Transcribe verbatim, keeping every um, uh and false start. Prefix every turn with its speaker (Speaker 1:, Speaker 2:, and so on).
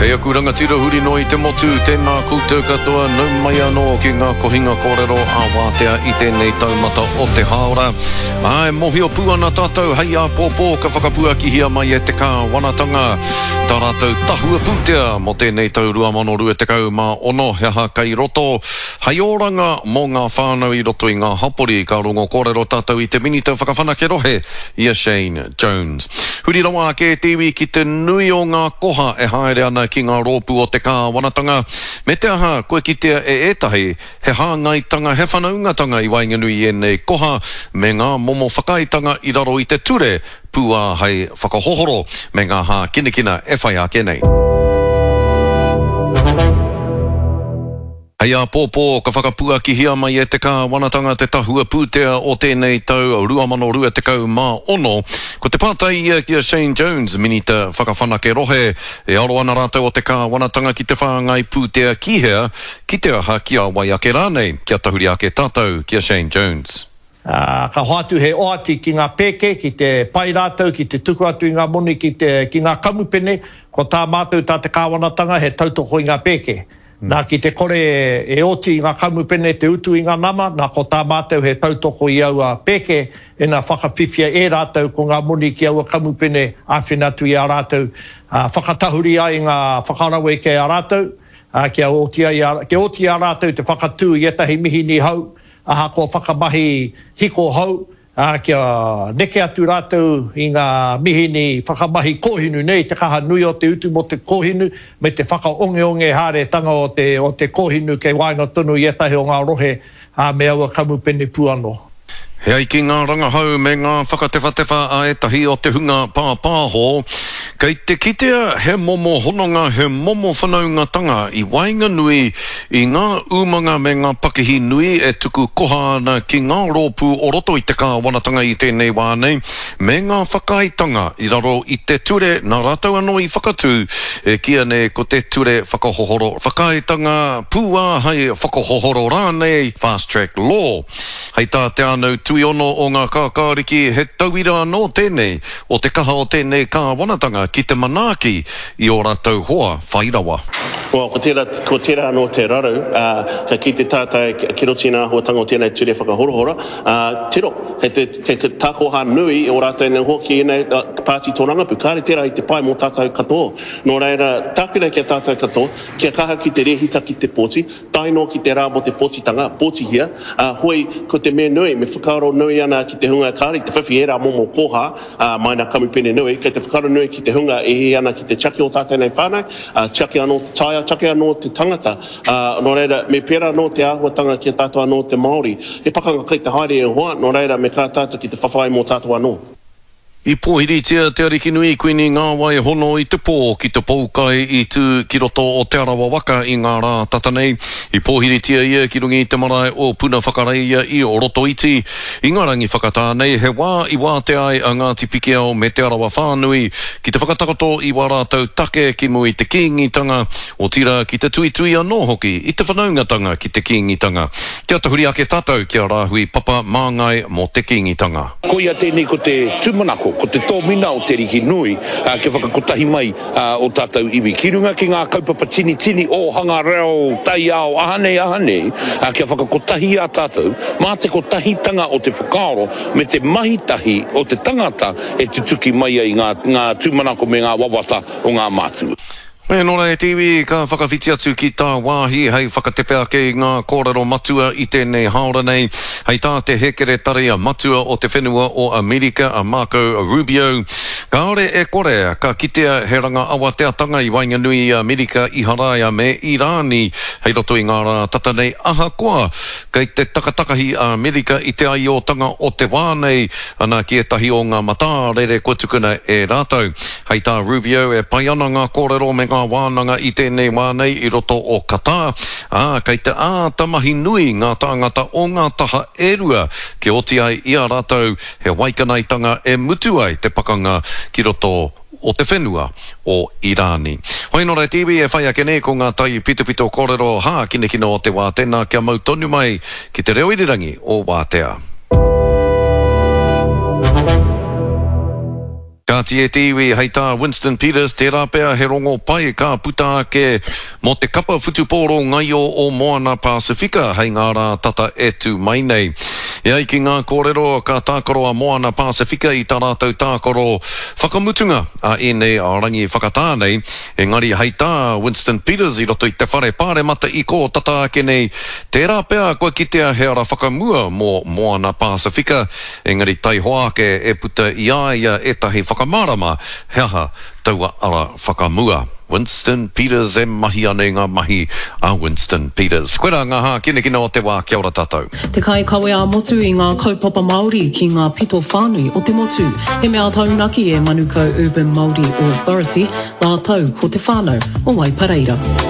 Speaker 1: Hei aku rangatira huri noa i te motu, tēnā koutou katoa, nau mai anō ki ngā kohinga kōrero a Wātea i tēnei taumata o te hāora. Ā, e mōhio pū ana tātou hei āpōpō ka whakapuakihia mai e te kāwanatanga tā rātou tahua pūtea mō tēnei tau rua mano rua tekau mā ono, he aha kei roto hei oranga mō ngā whānau i roto i ngā hapori. Ka rongo kōrero tātou i te Minita Whakawhanake Rohe, i a Shane Jones. Huri rawa ake te iwi ki te nui o ngā koha e haere ana ki ngā rōpū o te kāwanatanga, me te aha kua kitea e ētahi he hāngaitanga, he whanaungatanga i waenganui i ēnei koha me ngā momo whakaaetanga i raro i te ture pūāhei whakahohoro me ngā hākinakina e whai ake nei. Hei āpōpō ka whakapuakihia mai e te kāwanatanga te tahua pūtea o tēnei tau rua mano rua tekau mā ono. Ko te pātai ia ki a Shane Jones, Minita Whakawhanake Rohe, e aro ana rātou o te kāwanatanga ki te whāngai pūtea ki hea, ki te aha, ki a wai ake rānei, kia tahuri ake tātou ki a Shane Jones.
Speaker 2: Uh, ka hoatu he oati ki ngā pēke, ki te pai rātou, ki te tuku atu i ngā moni, ki, te, ki ngā kamupene, ko tā mātou tā te kāwanatanga he tautoko i ngā pēke. Nā ki te kore e oti i ngā kamupene te utu i ngā nama, nā ko tā mātou he tautoko i aua pēke, e nā whakawhiwhia e rātou ko ngā moni ki aua kamupene āwhina atu i a rātou, uh, whakatahuri ai ngā whakaraweke a rātou, uh, kia oti ai a, kia oti a rātou te whakatū i ētahi mihini hau, aha ko whakamahi hiko hau, uh, kia neke atu rātou i ngā mihini whakamahi kōhinu nei, te kaha nui o te utu mō te kōhinu, me te whakaongeonge haeretanga o te, o te kōhinu kei waenga tonu i ētahi o ngā rohe, uh, me aua kamupene pū anō.
Speaker 1: He ai ki ngā rangahau me ngā whakatewhatewha a ētahi o te hunga pāpāho, kei te kitea he momo hononga, he momo whanaungatanga i waenganui i ngā umanga me ngā pakihi nui e tuku koha ana ki ngā rōpū o roto i te kāwanatanga i tēnei wā nei, me ngā whakaaetanga i raro i te ture nā rātou anō i whakatū, e kīia nei ko te ture whakahohoro whakaaetanga pūāhei whakahohoro rānei, fast track law. Hei tā Te Ānau Tuiono o ngā kākāriki, he tauira anō tēnei o te kaha o tēnei kāwanatanga ki te manaaki i ō rātou hoa whai rawa.
Speaker 3: Well, ko tērā, ko tērā anō te raru, uh, ka kite tātou ki roto i ngā āhuatanga o tēnei ture whakahorohoro, uh, tiro, kei te, kei te takoha nui o rātou nei hoki ēnei uh, pāti tōrangapū, kāre tērā i te pai mō tātou katoa. Nō reira, tāku nei ki a tātou katoa, kia kaha ki te rehita ki te pōti, tae noa ki te rā mō te pōtitanga, pōtihia, uh, hoi ko te mea nui, me whakaaro nui ana ki te hunga kāre i te whiwhi ērā momo koha, uh, mai nā kamupene nui, kei te whakaaro nui ki te hunga e hē ana ki te tiaki o tātou nei whānau, uh, tiaki anō te taiao, tiaki anō te tangata. Uh, nō reira, me pērā anō te āhuatanga ki a tātou anō te Māori. He pakanga kei te haere e hoa, nō reira, me kā tātou ki te whawhai mō tātou anō.
Speaker 1: I pōhiritia te Arikinui Kuini Ngāwai Hono i te pō ki te poukai i tū ki roto o Te Arawa waka i ngā rā tata nei. I pōhiritia ia ki runga i te marae o Puna Whakareia i Rotoiti. I ngā rangi whakatā nei, he wā i wātea ai a Ngāti Pikiao me Te Arawa whānui ki te whakatakoto i wā rātou take ki mua i te Kīngitanga, otirā ki te tuitui anō hoki i te whanaungatanga ki te Kīngitanga. Kia tahuri ake tātou ki a Rāhui Papa Māngai mō te Kīngitanga.
Speaker 4: Koia tēnei ko te tūmanako, ko te tōmina o Te Ariki Nui, uh, kia whakakotahi mai uh, o tātou iwi. Ki runga ki ngā kaupapa tini tini, ōhanga reo, taiao, aha nei, aha nei, uh, kia whakakotahi a tātou, mā te kotahitanga o te whakaaro me te mahitahi o te tangata e tutuki mai ai ngā, ngā tūmanako me ngā wawata o ngā mātua.
Speaker 1: Me nō reira te iwi ka whakawhiti atu ki tā wāhi hei whakatepe ake i ngā kōrero matua i tēnei hāora nei. Hei tā te hēkeretari matua o te whenua o Amerika a Marco Rubio, kāore e kore ka kitea he ranga awateatanga i waenganui i Amerika, Iharaia me Irāni hei roto i ngā rā tata nei ahakoa kei te takatakahi a Amerika i te aiotanga o te wā nei ana ki ētahi o ngā matārere kua tukuna e rātou. Hei tā Rubio e pai ana ngā kōrero me ngā wānanga i tēnei wā nei i roto o Qatar, ā, kei te āta mahi nui ngā tāngata o ngā taha e rua kia oti ai i a rātou he waikanaitanga e mutu ai te pakanga ki roto o te whenua o Irāni. Hoi nō reira te iwi e whai ake nei ko ngā tai pitopito kōrero hākinakina o te wā tēnā kia mau tonu mai ki te reo irirangi o Wātea. Kāti e te iwi, hei tā Winston Peters, tērā pea he rongo pai ka puta ake mō te kapa whutupōro ngaio o Moana Pasifika hei ngā rā tata e tū mai nei. E ai ki ngā kōrero, ka tākaro a Moana Pasifika i tā rātou tākaro whakamutunga a ēnei rangi whakatā nei, engari hei tā Winston Peters i roto i te whare pāremata i kō tata ake nei, tērā pea kua kitea he ara whakamua mō Moana Pasifika, engari taihoa ake e puta i a ia ētahi whakamārama he aha taua ara whakamua. Winston Peters e mahi ana i ngā mahi a Winston Peters. Koirā ngā hākinakina o te wā, kia ora tātou.
Speaker 5: Te kaikawe ā-motu i ngā kaupapa Māori ki ngā pito whānui o te motu. He mea taunaki e Manukau Urban Māori Authority rātou ko te whānau o Waipareira.